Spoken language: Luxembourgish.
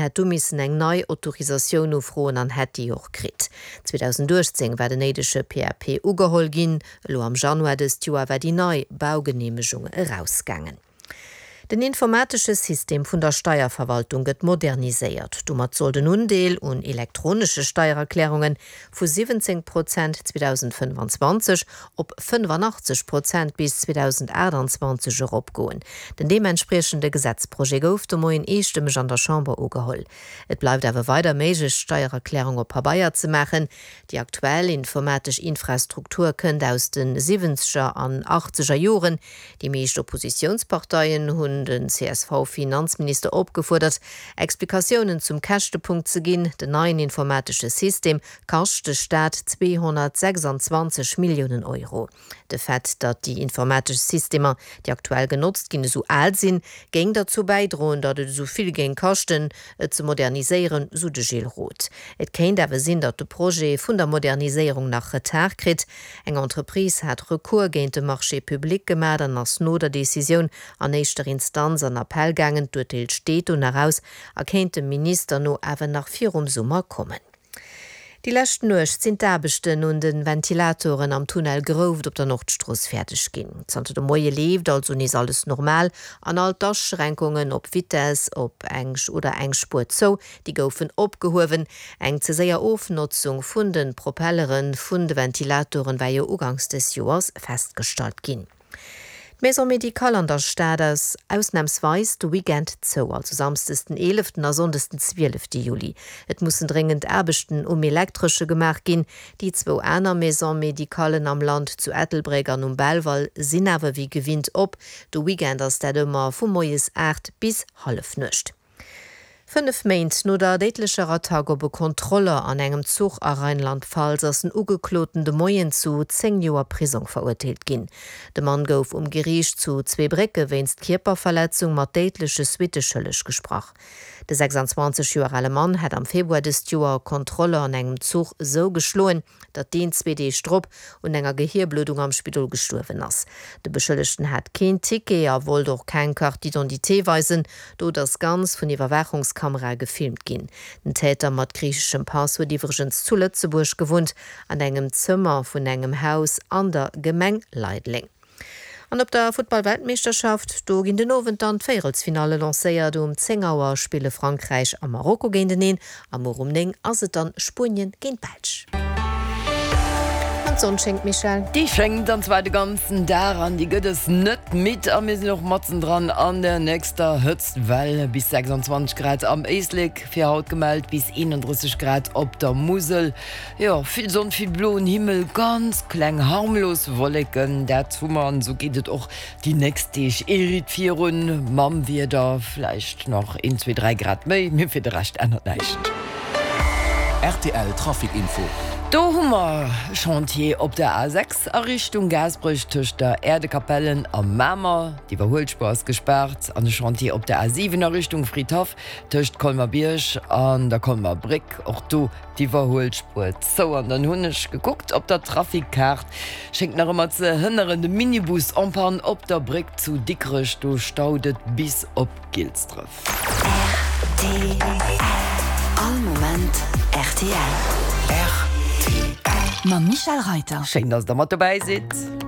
Hätt du missen eng nei Autorisatioun ufroen an hätt déi och kritt. 2018 war den néidege PAP ugeholl ginn, elo am Januar dëst Joer war déi nei Baugeneemegung erausgaangen. Den informatesche System vun der Steierverwaltung gëtt moderniséiert. Domat soll den Undeel un elektronesche Steiererklärunge vu 17 Prozent 2025 op 85 Prozent bis 2028 eropgoen. Den deementspriechende Gesetzprojet gouf de Moien eestëmmeg an der Chamber ugeholl. Et bleift awer weider méiglech, d'Steiererklärung op Pabeier ze maachen. Déi aktuell informatesch Infrastruktur kënnt aus de siwwenzeger an achtzeger Joren. Déi meescht Oppositiounsparteien hunn den CSV-Finanzminister opgefuerdert, Explikatiounen zum Käschtepunkt ze ginn. Den neien informatesche System kascht de Staat 226 Milliounen Euro. De Fait, datt déi informatesch Systemer, déi aktuell genotzt ginn, esou al sinn, géing derzou bäidroen, datt et esou vill géing kaschten, et ze moderniséieren, sou de Gilles Roth. Et kéint awer sinn, datt de Projet vun der Moderniséierung nach Retard kritt. Eng Entreprise hat Recours géint de Marché public gemat an ass no der Decisioun an éischter Instanz an Appell gaangen. D'Urteel steet do nach aus a kéint dem Minister no awer nach virum Summer kommen. Déi lescht Nuecht sinn d'Aarbechten un de Ventilatoren am Tunnel Grouft op der Nordstrooss fäerdeg ginn. Zanter de Moie leeft also nees alles normal an all d'Aschränkungen op Vitess op eng oder eng Spuer zou, déi goufen opgehuewen. Eng ze séier Ofnotzung vun de Propellere vun de Ventilatoren war jo uganks des Joers festgestallt ginn. D'Maison médicale an der Stad ass ausnamsweis de Weekend zou, also samsdes den 11 a sonndes den 12 Juli. Et mussen dréngend Aarbechten um Elektresche gemaach ginn. Déi zwou aner Maisons médicallen am Land, zu Ettelbréck an um Belval, sinn awer wéi gewinnt op. De Weekend ass dat ëmmer vu moies 8 bis Hallefnuecht. 5 Méint no der déidlecher Attack op e Kontroller an engem Zuch a Rheinland-Pfalz ass den Ugekloten de Moien zu 10 Joer Prisong verurteelt ginn. De Mann gouf um Geriicht zu Zweebrécke wéinst Kierperverletzung mat déidleche Suitte schëlleg gesprach. De 26 Joer ale Mann hat am Februar dëst Joer e Kontroller an engem Zuch esou geschloen, datt deen zwee Deeg drop un enger Gehierbluddung am Spidol gestuerwen ass. De Beschëllegten hat keen Ticket a wollt och keng Carte d'identité weisen. D'Dot ass ganz vun Iwwerwaachungskamerae gefilmt ginn. Den Täter mat griicheschem Pass huet iwwregens zu Lëtzebuerg gewunnt, an engem Zëmmer vun engem Haus an der Gemeng Leideleng. An op der Futtball-Weltmeeschterschaft, do ginn den Owend dann d'Véierelsfinalle lancéiert. Um 10 Auer spille Frankräich a Marokko géinteneen a muer um 9 ass et dann Spuenien géint d'Belsch. An d'Sonn schéngt, Michèle? Déi schéngt, an zwar de ganzen Dag an déi gëtt es net midd. A mir sinn och matzendran an der nächster Hëtztwell, bis 26 Grad am Éislek fir haut gemellt, bis 31 Grad op der Musel. Jo, vill Sonn, vill bloen Himmel, ganz kleng harmlos Wolleken, dat hu mer an esou geet et och déi nächst Deeg ee Ritt virun mam Wieder, vläicht nach een, zwee, dräi Grad méi, mee fir de Rescht ännert näischt. Rtl Trafic Info. Do hu mer Chantier op der A6 a Richtung Gaasperech tëscht der Äerdekapellen a Mamer, d'Iwwerhuelspuer ass gespaart, an e Chantier op der A7 a Richtung Fridhaff tëscht Colmer-Bierg an der Colmer Bréck, och do D'Iwwerhuelspuer zou an dann hunn ech gekuckt op der Trafikkaart. Schéngt nach ëmmer ze hënneren, de Minibus en panne op der Bréck zu Dikrech, do staut et bis op Gilsdref. Rtl, All Moment rtl. Mam Michèle Reiter. Schéin, dass der mat dobäi sidd.